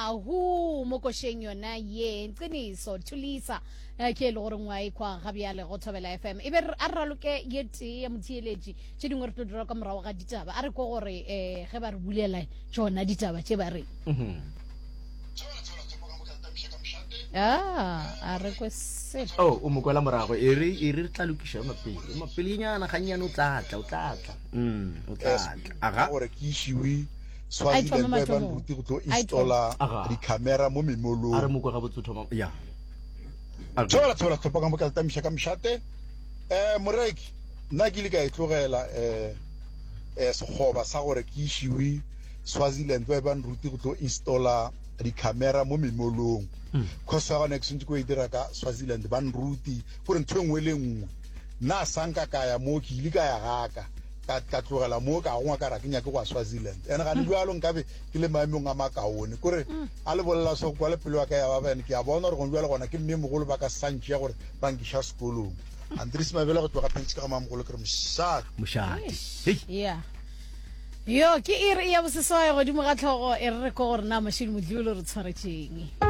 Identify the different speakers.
Speaker 1: Mahu mo košeng yona ye Nqiniso Thulisa eh, ke e le gore ngwa ekwa ga bjale go Thobela FM. E be re- a re raloke ye tee ya motheeletši tše dingwe re tlo dira ka morago ga ditaba. A re ko gore eh, ge ba re bulela tšona ditaba tše ba reng. Ah, a re kwe selo.
Speaker 2: Oh, o mo kwela morago. E re e re re tla lokiša yona pele. Ema pelenyana gannyane o tla tla, o tla tla. Mm, o tla tla. Aga.
Speaker 3: Gore ke išiwe
Speaker 1: A e thome
Speaker 3: Swaziland ba e ba
Speaker 1: mathomong.
Speaker 3: nruti go tlo
Speaker 1: A e thome.
Speaker 3: installa
Speaker 2: Aga.
Speaker 3: di-camera mo
Speaker 2: A re
Speaker 3: memolong.
Speaker 2: mo kwe gabotse o thoma. Ya. A re.
Speaker 3: Thobela thobela sehlopha ka moka le tamiša ka mošate. Eh moreki, nna ke ile ka e tlogela eh eh sekgoba sa gore ke išiwe Swaziland ba e ba nruti go tlo installa di-camera mo memolong. Course ya gona ke swantse ko e dira ka Swaziland ba nruti gore ntho e nngwe le nngwe. Nna sa nka ka ya mo ke ile ka ya gaka ka ka tlogela mo ka gongwa ka ra ke nyake go ya Swaziland. And gane bjalo nkabe ke le maemong a makaone. Kore a le bolela so kwa le pelo ya ka ya baba and ke a bona gore gone bjalo gona ke mme mogolo ba ka sa ntšea gore ba nkiša sekolong. Andries Mabele go tloga Pentsi ka ga mamogolo ke re mošate.
Speaker 2: Mošate. Hei.
Speaker 1: Yeah. Yo ke iri ya boseswai godimo ga tlhogo e re re ko gore na Mashidi Modlolo re tshwaretšeng.